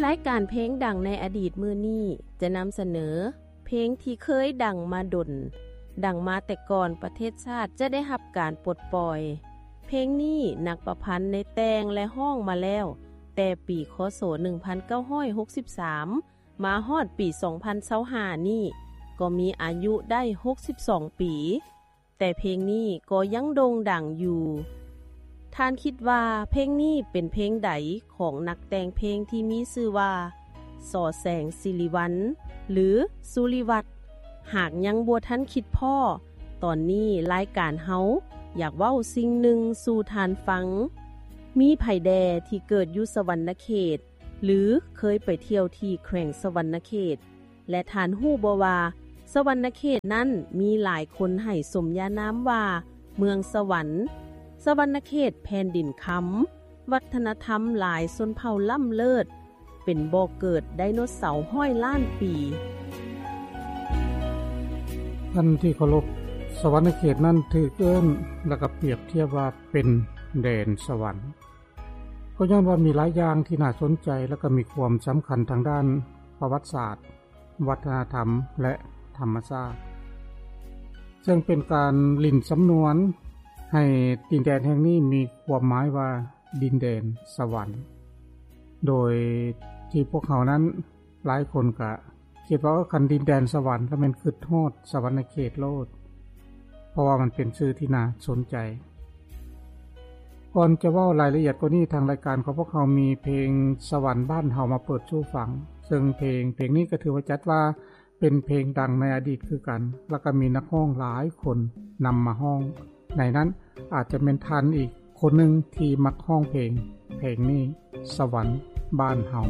ລາຍການເພງດັງໃນອະດີດມື້ນີ້ຈະນຳສະເໜີເພງທີ່ເຄີຍດັງມາດົນ, ດັງມາແຕ່ກ່ອນປະເທດຊາດຈະໄດ້ຮັບການປົດປ່ອຍ. ເພງນີ້ນັກປະພັນໄດ້ແຕ່ງ ແລະ ຮ້ອງມາແລ້ວແຕ່ປີ ຄ.ສ. ໜຶ່ງພັນເກົ້າຮ້ອຍຫົກສິບສາມ ມາຮອດປີ ສອງພັນຊາວຫ້ານີ້ ກໍມີອາຍຸໄດ້ຫົກສິບສອງປີ, ແຕ່ເພງນີ້ກໍຍັງໂດ່ງດັງຢູ່. ທ່ານຄິດວ່າເພງນີ້ເປັນເພງໃດຂອງນັກແຕ່ງເພງທີ່ມີຊື່ວ່າ ສ. ແສງສິລິວັນ ຫຼື ສຸລິວັດ? ຫາກຍັງບໍ່ທັນຄິດພໍ້, ຕອນນີ້ລາຍການເຮົາຢາກເວົ້າສິ່ງໜຶ່ງສູ່ທ່ານຟັງ. ມີໃຜແດ່ທີ່ເກີດຢູ່ສະຫວັນນະເຂດ ຫຼື ເຄີຍໄປທ່ຽວທີ່ແຂວງສະຫວັນນະເຂດ ແລະ ທ່ານຮູ້ບໍ່ວ່າ ສະຫວັນນະເຂດນັ້ນມີຫຼາຍຄົນໃຫ້ສົມຍານາມວ່າເມືອງສະຫວັນ? ສະຫວັນນະເຂດແຜ່ນດິນຄຳ, ວັດທະນະທຳຫຼາຍຊົນເຜົ່າລ້ຳເລີດ, ເປັນບໍ່ເກີດໄດໂນເສົາຮ້ອຍລ້ານປີ. ທ່ານທີ່ເຄົາລົບ, ສະຫວັນນະເຂດນັ້ນຖືກເອີ້ນ ແລະ ກໍປຽບທຽບວ່າເປັນແດນສະຫວັນ. ກໍຍ້ອນວ່າມີຫຼາຍຢ່າງທີ່ໜ້າສົນໃຈ ແລະ ກໍມີຄວາມສຳຄັນທາງດ້ານປະຫວັດສາດ, ວັດທະນະທຳ ແລະ ທຳມະຊາດ, ເຊິ່ງເປັນການຫຼິ້ນສຳນວນໃຫ້ດິນແດນແຫ່ງນີ້ມີຄວາມໝາຍວ່າດິນແດນສະຫວັນ. ໂດຍທີ່ພວກເຮົານັ້ນ ຫຼາຍຄົນກະຄິດວ່າ ເອີ ຄັນດິນແດນສະຫວັນ ລະແມ່ນຄິດຮອດສະຫວັນນະເຂດໂລດ, ເພາະວ່າມັນເປັນຊື່ທີ່ໜ້າສົນໃຈ. ກ່ອນຈະເວົ້າລາຍລະອຽດກວ່ານີ້, ທາງລາຍການຂອງພວກເຮົາມີເພງສະຫວັນບ້ານເຮົາມາເປີດສູ່ຟັງ, ເຊິ່ງເພງ ເພງນີ້ກໍຖືວ່າຈັດວ່າເປັນເພງດັງໃນອະດີດຄືກັນ, ລະກະມີນັກຮ້ອງຫຼາຍຄົນນຳມາຮ້ອງ. ໃນນັ້ນອາດຈະແມ່ນທ່ານອີກຄົນໜຶ່ງທີ່ມັກຮ້ອງເພງ, ເພງນີ້ ສະຫວັນບ້ານເຮົາ.